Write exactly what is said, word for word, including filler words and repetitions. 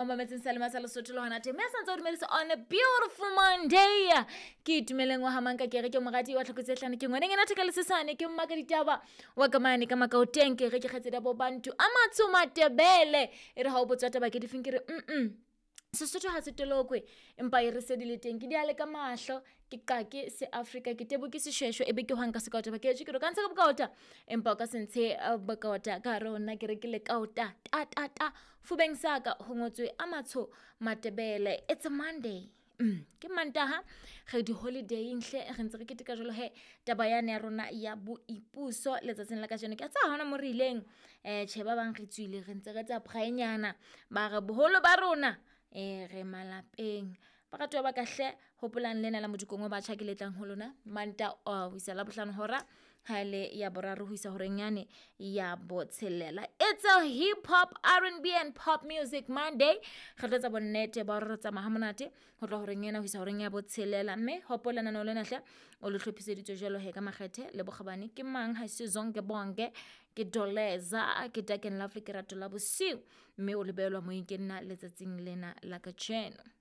Mametseng sa lema sa Lesotho le hona teng, mme a santse o dumedisa on a beautiful Monday. Ke itumeleng wa hamanka, ke re ke moradi wa tlhoko tse hlano, ke ngwaneng ena theka lesesane, ke mmaka ditaba wa ka mane ka makaoteng, ke re ke kgaitsedi ya bo bantu a matsho matebele. E re ha o botswa taba ke difeng, ke re mm Sesotho ha se tolokwe, empa e re se di le teng ke di ale ka mahlo, ke qake se Afrika, ke tebo ke seshweshwe, ebe ke hwang ka sekaota ba ke ke re ka ntsha ka bokaota, empa o ka se ntshe bokaota ka hare ho nna. Ke re ke le kaota ta ta ta fubeng sa ka ho ngotswe a matsho matebele. It's a Monday. Mm, ke Mantaha, re di-holiday-ing hle, re ntse re keteka jwalo he taba yane ya rona ya boipuso letsatsing la kajeno. Ke a tseba ha hona mo re ileng, um tjhe, ba bang re tswile, re ntse re tsa braai-nyana, mara boholo ba rona um re malapeng. Baratuwa ba ka hle, hopolang lena la modikong wa batjha ke le tlang ho lona Manta ho isa Labohlano hora ha ele ya boraro ho isa horeng yane ya botshelela. It's a hip hop, R and B and pop music Monday. Re tlo etsa bonnete ba hore re tsamaya ha monate ho tloha horeng ena ho isa horeng ya botshelela. Mme hopola lenaneo lena hle o le hlophiseditswe jwalo he ka makgethe le bokgabane ke mang ha se Zonke Bonke, ke Doleza, ke Dark and Lovely, ke rato la bosiu, mme o le behelwa moyeng ke nna letsatsing lena la kajeno.